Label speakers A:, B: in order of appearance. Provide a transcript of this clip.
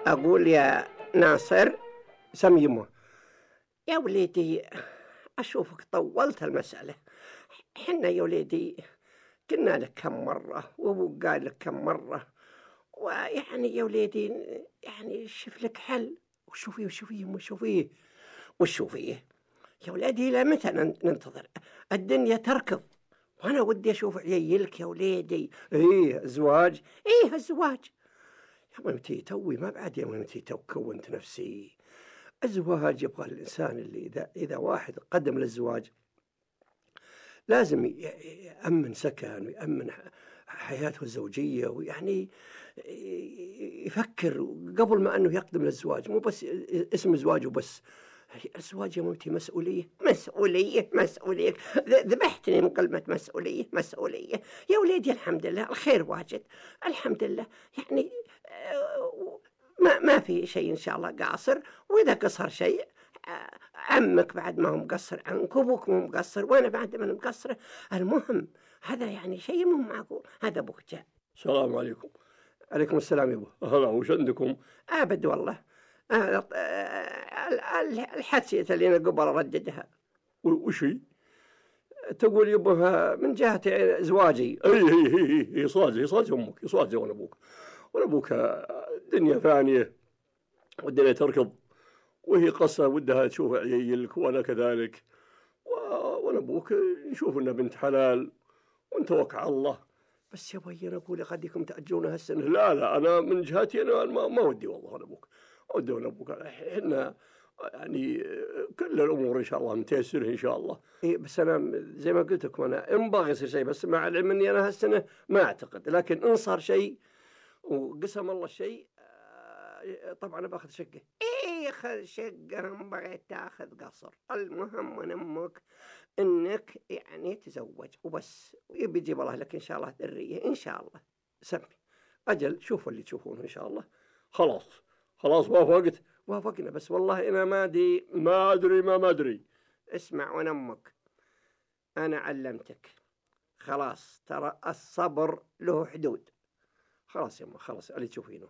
A: أقول يا ناصر. سم يمه. يا وليدي أشوفك طولت المسألة. حنا يا وليدي قلنا لك كم مرة وأبوك قال لك كم مرة، ويعني يا وليدي يعني شوف لك حل. وشوفيه يا وليدي، إلى متى ننتظر؟ الدنيا تركض، وأنا ودي أشوف عيالك يا وليدي. الزواج يا ممتي توي ما بعد، يا ممتي تو كونت نفسي. الزواج يبغى الإنسان اللي إذا واحد قدم للزواج لازم يأمن سكن ويأمن حياته الزوجية، ويعني يفكر قبل ما أنه يقدم للزواج، مو بس اسم زواج وبس. الزواج يا ممتي مسؤولية. ذبحتني من كلمة مسؤولية يا وليدي. الحمد لله الخير واجد، الحمد لله. يعني ما في شيء إن شاء الله قاصر، وإذا قصر شيء عمك بعد ما هو مقصر عنك، وابوك مو مقصر، وانا بعد ما مقصره. المهم هذا يعني شيء مو معقول. هذا ابوك جاء.
B: السلام عليكم.
A: عليكم السلام يبا.
B: هلا، وش عندكم؟
A: ابد والله الحادثة اللي انا قبل ارددها.
B: وش هي؟
A: تقول يبا من جهة زواجي.
B: اي صاج امك، يصاج وانا ابوك الدنيا ثانية والدنيا تركض، وهي قصة ودها تشوف عيالك وأنا كذلك، وأنا أبوك نشوف إنها بنت حلال ونتوكل على الله.
A: بس يا بي أنا أقول قدكم تأجلونها هالسنة.
B: لا أنا من جهتي أنا ما ودي والله. أنا أبوك إحنا يعني كل الأمور إن شاء الله متيسرة إن شاء الله.
A: بس أنا زي ما قلت لكم أنا ينبغي يصير شيء، بس مع العلم إني أنا هالسنة ما أعتقد، لكن إن صار شيء وقسم الله الشيء طبعا باخذ شقة. خذ شقة، بغيت تاخذ قصر. المهم من امك انك يعني تزوج وبس، ويجيب الله لك ان شاء الله ذرية ان شاء الله. سمي اجل شوفوا اللي تشوفونه ان شاء الله.
B: خلاص
A: وافقنا، بس والله انا ما
B: ادري.
A: اسمع وانا امك، انا علمتك خلاص، ترى الصبر له حدود. خلاص يا أمه، خلاص اللي تشوفينه.